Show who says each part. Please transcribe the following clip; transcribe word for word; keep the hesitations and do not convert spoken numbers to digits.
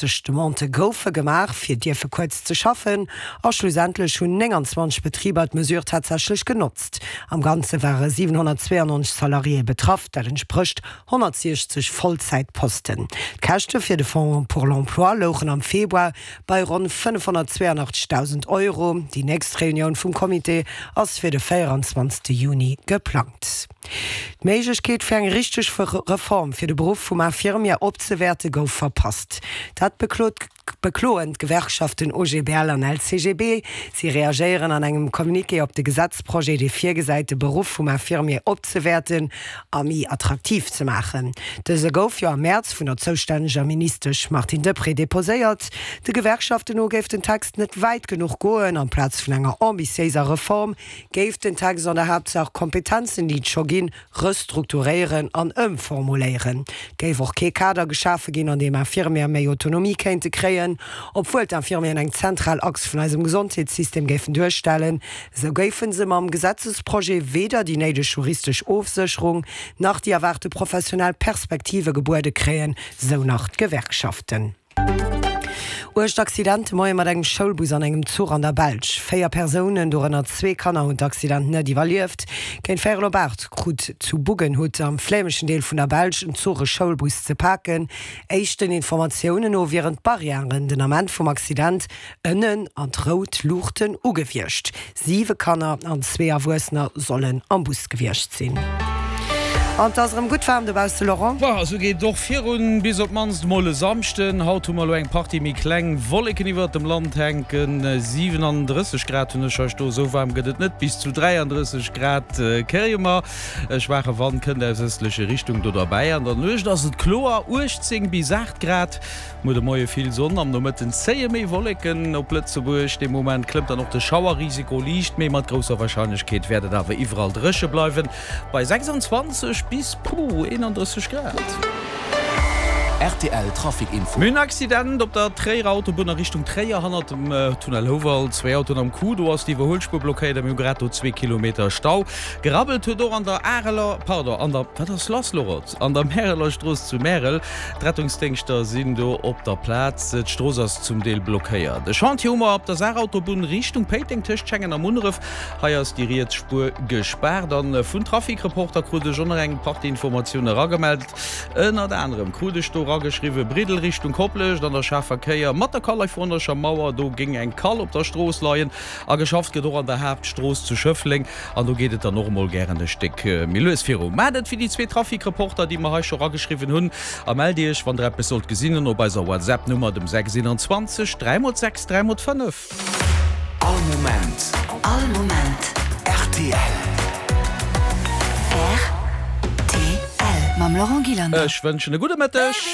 Speaker 1: Demandë goufe gemaach, fir dierfe kuerz ze schaffen, a schlussendlech hunn nénganzwanzeg Betriber d'Mesure tatsächlech genotzt. Am Ganze ware siwenhonnertzweeannonzeg Salariéë betraff, dat entsprécht honnertsiechzeg Vollzäitposten. D'Käschte fir de Fonds pour l'emploi louchen am Februar bei ronn fënnefhonnertzweeanachtzegdausend Euro. Déi nächst Reunioun vum Comité ass fir de véieranzwanzegste Juni geplangt. D'Méiglechkeet fir eng richteg Reform fir de Beruff vum Infirmier opzewäerte gouf verpasst. Dat beklot bekloen d'Gewerkschaften O G B L an L C G B. Si reagéieren an engem Communiqué op de Gesetzprojet, dee virgesäit, de Beruff vum Infirmier opzewäerten a méi attraktiv ze maachen. Dëse gouf jo am Mäerz vun der zoustänneger Ministesch Martine Deprez deposéiert. De Gewerkschaften no géif den Text net wäit genuch goen. Amplaz vun enger ambitiéiser Reform géif den Text an der Haaptsaach Kompetenzen, déi et scho ginn, restrukturéieren an ëmformuléieren. Et géif och kee Kader geschafe ginn, an deem Infirmiere méi Autonomie kéinte kréien. Obwuel d'Infirmieren eng zentral Achs vun eisem Gesondheetssystem géifen duerstellen, esou géife se mam Gesetzesprojet weder déi néideg juristesch Ofsécherung nach déi erwaarte professionell Perspektive gebuede kréien, sou nach d'Gewerkschaften. Uergt Accident de Moie mat engem Schoulbus an engem Zuch an der Belsch. Véier Persounen, dorënner zwee Kanner, hunn d'Accident net iwwerlieft. Géint véierel op aacht krut zu Buggenhout am flämeschen Deel vun der Belsch en Zuch e Schoulbus ze paken. Éischten Informatiounen no wieren d'Barrièren den Ament vum Accident ënnen an d'rout Luuchten ugewiescht. Siwe Kanner an zwee Erwuessener sollen am Bus gewiescht sinn. An et ass erëm gutt waarm dobausse, Laurent.
Speaker 2: Bon, esou geet et och virun, bis op d'mannst mol e Samschden. Haut hu mer elo eng Partie méi kleng Wolleken iwwert dem Land hänken. siwenandrësseg Grad hunn ech hei stoen, esou waarm gëtt et net, bis zu dräiandrësseg Grad kréie mer. E schwaache Wand kënnt aus ëstleche Richtung do derbäi. An der Nuecht ass et kloer, uechtzéng bis aacht Grad. Muer de Moie vill Sonn, am Nomëtten zéie méi Wolleken op Lëtzebuerg. Dee Moment klëmmt dann och de Schauerrisiko liicht, mee mat grousser Warscheinlechkeet wäert et awer iwwerall dréche bleiwen, bei sechsanzwanzeg bis, puh, eenandrësseg Grad.
Speaker 3: Rtl Trafic Info.
Speaker 2: Mir hunn en Accident op der Tréierer Autobunn a Richtung Tréier, hannert dem Tunnel Houwald. Zwee Autoen am Coup, do ass d'Iwwerhuelspuer blockéiert a mir hu grad do zwee Kilometer Stau. Gerabbelt huet och an der Areler, pardon, an der, wat ass lass, Laurent? An der Märeler Strooss zu Märel. D'Rettungsdéngschter sinn do op der Plaz. D'Strooss ass zum Deel blockéiert. E Chantier hu mer op der Saarautobunn Richtung Péiteng tëscht Schengen a Munneref. Hei ass déi riets Spuer gespaart. A vun Trafic-Reporter krut ech och nach eng Partie Informatioune eragemellt. Ënnert anerem krut ech do erageschriwwen, Briddel Richtung Koplescht an der schaarfer Kéier mat der kalifornescher Mauer, do géing eng Kall op der Strooss leien. A geschafft gëtt och an der Haaptstrooss zu Schëffleng. An do geet et dann och emol gären e Stéck méi lues viru. Maacht et wéi déi zwee Trafic-Reporter, déi mer hei scho rageschriwwen hunn, a mellt Iech, wann Der eppes sollt gesinn hunn, op eiser WhatsApp-Nummer, dem sechs eenanzwanzeg dräi mol sechs dräi mol fënnef.
Speaker 3: All Moment.
Speaker 4: All Moment.
Speaker 3: Rtl.
Speaker 4: Rtl. Mam Laurent Gillander.
Speaker 2: Ech wënschen e gudde Mëtteg.